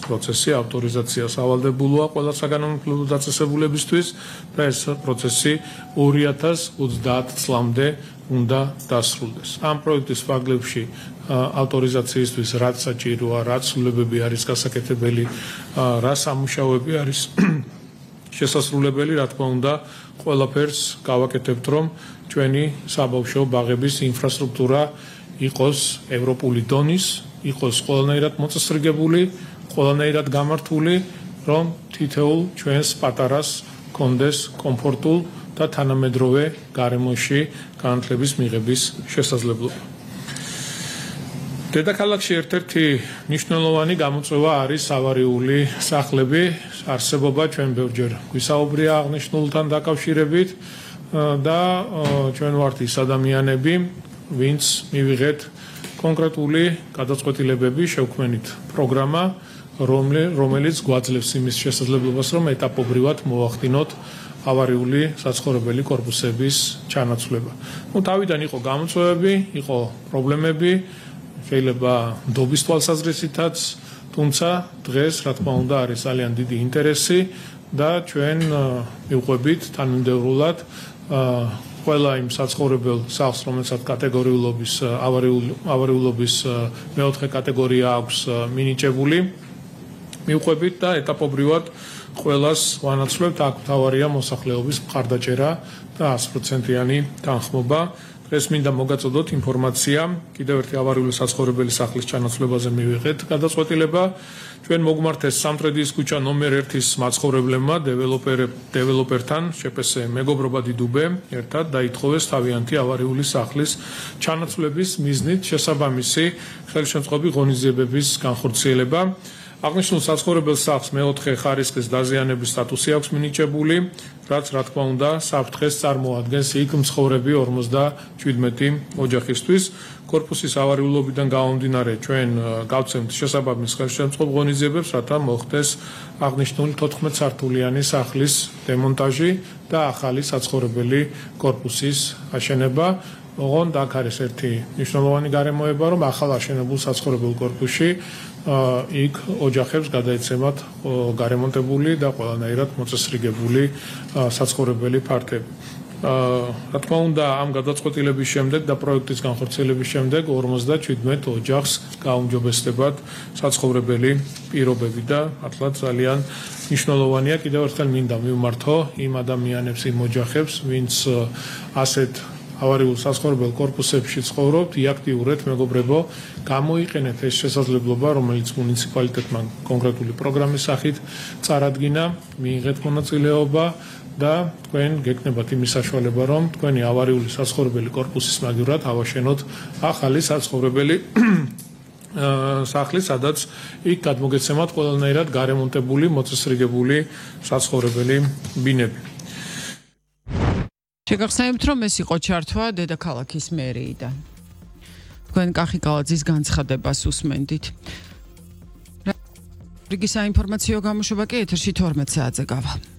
პროცესი ავტორიზაციას ავალდებულოა ყველა საგანმანათლებლო დაწესებულებისთვის და ეს პროცესი 2030 წლამდე უნდა დასრულდეს. Ამ პროექტის ფარგლებში ავტორიზაციისთვის რაც საჭიროა, რაც სრულებები არის გასაკეთებელი, რა სამუშაოები არის შესასრულებელი, რა თქმა უნდა, ყველაფერს გავაკეთებთ, რომ ჩვენი საბავშვო ბაღების ინფრასტრუქტურა იყოს ევროპული დონის, იყოს ყველანაირად მოწესრიგებული, ყველანაირად გამართული, რომ თითოეულ ჩვენს პატარას კონდეს კომფორტულ და თანამედროვე გარემოში განათლების მიღების შესაძლებლობა. დედაქალაქში ერთ-ერთი მნიშვნელოვანი გამოწვევა არის ავარიული სახლები. არსებობა ჩვენ ბევრჯერ გვისაუბრია აღნიშნულთან დაკავშირებით და ჩვენ ვართ ის ადამიანები, ვინც მივიღეთ კონკრეტული გადაწყვეტილებები შევქმნით პროგრამა, რომელიც გვაძლევს იმის შესაძლებლობას, რომ ეტაპობრივად მოვახდინოთ ავარიული საცხოვრებელი კორპუსების ჩანაცვლება. თავიდან იყო გამოწვევები, იყო პრობლემები, შეიძლება ნდობის თვალსაზრისითაც, თუმცა დღეს, რა თქმა უნდა, არის ძალიან დიდი ინტერესი და ჩვენ მივყვებით თანმიმდევრულად ყველა იმ საცხოვრებელ სახლს, რომელსაც კატეგორიულობის ავარიულობის მეოთხე კატეგორია აქვს მინიჭებული, მივყვებით და ეტაპობრივად ყველას ვანაცვლებთ, აქ მთავარია მოსახლეობის მხარდაჭერა და 100%-იანი თანხმობა. დღეს მინდა მოგაწოდოთ ინფორმაცია კიდევ ერთი ავარიული საცხოვრებელი სახლის ჩანაცვლებაზე მივიღეთ გადაწყვეტილება. ჩვენ მოგმართეს სამტრედიის ქუჩა ნომერ 1-ის მაცხოვრებლებმა დეველოპერთან შეპესე მეგობრობა დიდუბე ერთად დაითხოვეს თავიანთი ავარიული სახლის ჩანაცვლების მიზნით შესაბამისი ხელშემწყობი ღონისძიებების განხორციელება. აღნიშნულ საცხოვრებელ სახლს მეოთხე ხარისხის დაზიანების სტატუსი აქვს მინიჭებული, რაც რა თქმა უნდა საფრთხეს წარმოადგენს იქ მცხოვრები 57 ოჯახისთვის. კორპუსის ავარიულობიდან გამომდინარე ჩვენ გავცემთ შესაბამის ხელშემწყობ ღონისძიებებს, რათა მოხდეს აღნიშნული 14 სართულიანი სახლის დემონტაჟი და ახალი საცხოვრებელი კორპუსის აშენება. ოღონდ აქ არის ერთი მნიშვნელოვანი გარემოება, რომ ახალ აშენებულ საცხოვრებელ კორპუსში იქ ოჯახებს გადაეცემათ გარემონტებული და ყველანაირად მოწესრიგებული საცხოვრებელი ფართები. რა თქმა უნდა, ამ გადაწყვეტილების შემდეგ და პროექტის განხორციელების შემდეგ 57 ოჯახს გაუმჯობესდებათ საცხოვრებელი პირობები და მართლაც ძალიან მნიშვნელოვანია. კიდევ ერთხელ მინდა მივმართო იმ ადამიანებს, იმ ოჯახებს, ვინც ასეთ ავარიულ საცხოვრებელ კორპუსებში ცხოვრობთ, აქტიურად მეგობრებო, გამოიყენეთ ეს შესაძლებლობა, რომელიც მუნიციპალიტეტმა კონკრეტული პროგრამის სახით წარადგინა, მიიღეთ მონაწილეობა და თქვენ გეკნებათ იმის საშუალება, რომ თქვენი ავარიული საცხოვრებელი კორპუსის მაგივრად ავაშენოთ ახალი საცხოვრებელი სახლი, სადაც იქ გადმოგეცემათ ყველანაირად გარემონტებული, მოწესრიგებული საცხოვრებელი ბინები. შეგახსენებთ, რომ ეს იყო ჩართვა დედაქალაქის მერიიდან. თქვენ კახი კალაძის განცხადებას უსმენდით. რიგი საინფორმაციო გამოშვება კი ეთერში 12 საათზე გავა.